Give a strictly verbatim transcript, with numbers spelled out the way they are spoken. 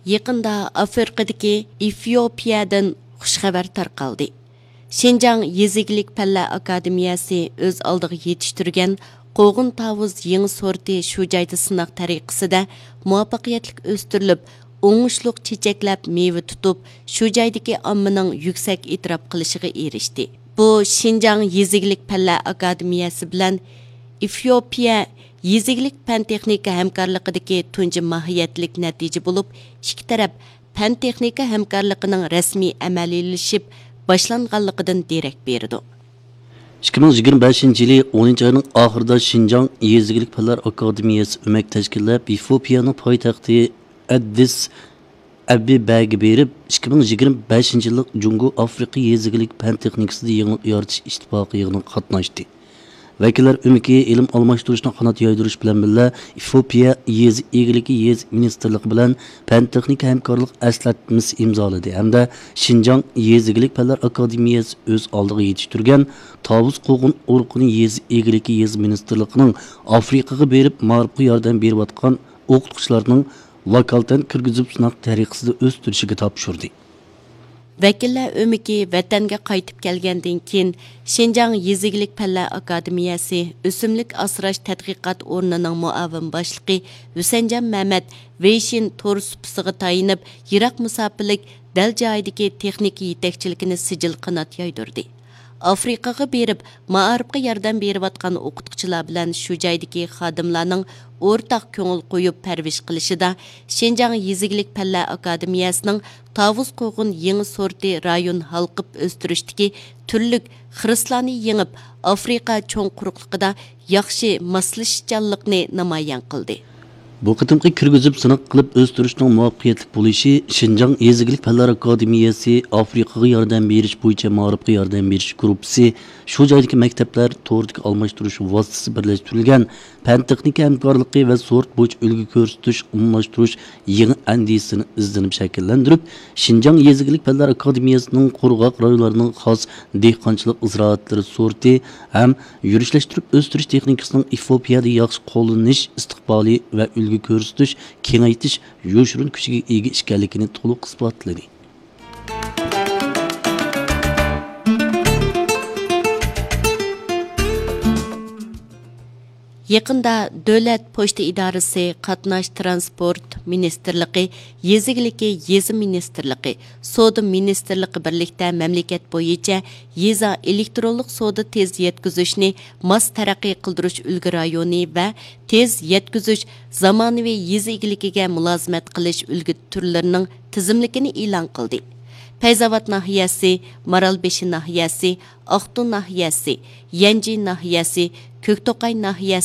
يېقىندا ئافرىقىدىكى ئېفىئوپىيەدىن خۇش خەۋەر تارقالدى. شىنجاڭ يېزا ئىگىلىك پەنلەر ئاكادېمىيەسى ئۆز ئالدىغا يېتىشتۈرگەن قوغۇن تاۋۇز يېڭى سورتى شۇ جايدا سىناق تەرىقىسىدە مۇۋەپپەقىيەتلىك ئۆستۈرۈلۈپ، ئوڭۇشلۇق چېچەكلەپ مېۋە تۇتۇپ، شۇ جايدىكى ئاممىنىڭ يۈكسەك ئېتىراپ قىلىشىغا ئېرىشتى. بۇ شىنجاڭ يېزا ئىگىلىك پەنلەر ئاكادېمىيەسى بىلەن ئېفىئوپىيە يېزا ئىگىلىك پەن تېخنىكا ھەمكارلىقىدىكى تۇنجى ماھىيەتلىك نەتىجە بولۇپ، ئىككى تەرەپ پەن تېخنىكا ھەمكارلىقىنىڭ رەسمىي ئەمەلىيلىشىپ باشلانغانلىقىدىن دېرەك بېرىدۇ. ئىككى مىڭ يىگىرمە بەشىنچى يىلى ئونىنچى ئاينىڭ ئاخىرىدا شىنجاڭ يېزا ئىگىلىك پەنلەر ئاكادېمىيەسى ئۆمەك تەشكىللەپ، ئېفىئوپىيەنىڭ پايتەختى ئەددىس ئەبىبەگە بېرىپ، ئىككى مىڭ يىگىرمە بەشىنچى يىللىق جۇڭگو ئافرىقا يېزا ئىگىلىك پەن تېخنىكىسىدا يېڭىلىق يارىتىش ئىتتىپاقى يىغىنىغا قاتناشتى. ۋەكىللەر ئۆمىكى ئىلىم ئالماشتۇرۇشنى قانات يايدۇرۇش بىلەن بىللە، ئېفىئوپىيە يېزا ئىگىلىكى يېزا مىنىستىرلىقى بىلەن پەن تېخنىكا ھەمكارلىق ئەسلەتمىسى ئىمزالىدى ھەمدە شىنجاڭ يېزا ئىگىلىك پەنلەر ئاكادېمىيەسى ئۆز ئالدىغا يېتىشتۈرگەن تاۋۇز قوغۇن ئۇرۇقىنى يېزا ئىگىلىكى يېزا مىنىستىرلىقىنىڭ ئافرىقىغا بېرىپ مائارىپقا ياردەم بېرىۋاتقان ئوقۇتقۇچىلارنىڭ ۋاكالىتەن كىرگۈزۈپ سىناق تەرىقىسىدە ئۆستۈرۈشىگە تاپشۇردى. ۋەكىللەر ئۆمىكى ۋەتەنگە قايتىپ كەلگەندىن كېيىن، شىنجاڭ يېزا ئىگىلىك پەنلەر ئاكادېمىيەسى ئۆسۈملۈك ئاسراش تەتقىقات ئورنىنىڭ مۇئاۋىن باشلىقى ھۈسەنجان مەمەت ۋېيشىن تور سۇپىسىغا تايىنىپ، يىراق مۇساپىلىك دەل جايىدىكى تېخنىكا يېتەكچىلىكىنى سىجىل قانات يايدۇردى. ئافرىقىغا بېرىپ، مائارىپقا ياردەم بېرىۋاتقان ئوقۇتقۇچىلار بىلەن شۇ جايدىكى خادىملارنىڭ ئورتاق كۆڭۈل قويۇپ پەرۋىش قىلىشىدا، شىنجاڭ يېزا ئىگىلىك پەنلەر ئاكادېمىيەسىنىڭ تاۋۇز قوغۇن يېڭى سورتى رايون ھالقىپ ئۆستۈرۈشتىكى تۈرلۈك خىرىسلارنى يېڭىپ، ئافرىقا چوڭ قۇرۇقلۇقىدا ياخشى ماسلىشىشچانلىقنى نامايان قىلدى. بۇ قېتىمقى كىرگۈزۈپ سىناق قىلىپ ئۆستۈرۈشنىڭ مۇۋەپپەقىيەتلىك بولۇشى شىنجاڭ يېزا ئىگىلىك پەنلەر ئاكادېمىيەسى ئافرىقىغا ياردەم بېرىش بويىچە مائارىپقا ياردەم بېرىش گۇرۇپپىسى، شۇ جايدىكى مەكتەپلەر توردىكى ئالماشتۇرۇش ۋاسىتىسى بىرلەشتۈرۈلگەن پەن تېخنىكا ھەمكارلىقى ۋە سورت بويىچە ئۈلگە كۆرسىتىش ئومۇملاشتۇرۇش يېڭى ئەندىزىسىنى ئىزدىنىپ شەكىللەندۈرۈپ، شىنجاڭ يېزا ئىگىلىك پەنلەر ئاكادېمىيەسىنىڭ قۇرغاق رايونلارنىڭ خاس دېھقانچىلىق زىرائەتلىرى سورتى ھەم يۈرۈشلەشتۈرۈپ ئۆستۈرۈش تېخنىكىسىنىڭ ئېفىئوپىيەدە ياخشى قوللىنىش ئىستىقبالى ۋە ئۈلگە كۆرسىتىش، كېڭەيتىش يوشۇرۇن كۈچىگە ئىگە ئىكەنلىكىنى تولۇق ئىسپاتلىدى. يېقىندا دۆلەت پوچتا ئىدارىسى، قاتناش تىرانسپورت مىنىستىرلىقى، يېزا ئىگىلىكى يېزا مىنىستىرلىقى، سودا مىنىستىرلىقى بىرلىكتە مەملىكەت بويىچە يېزا ئېلېكترونلۇق سودا تېز يەتكۈزۈشنى ماس تەرەققىي قىلدۇرۇش ئۈلگە رايونى ۋە تېز يەتكۈزۈش زامانىۋى يېزا ئىگىلىكىگە مۇلازىمەت قىلىش ئۈلگە تۈرلىرىنىڭ تىزىملىكىنى ئېلان قىلدى. پەيزاۋات ناھىيەسى، مارالبېشى ناھىيەسى، ئاقتۇ ناھىيەسى، يەنجى ناھىيەسى، كۆكتوقاي ناھىيەسى،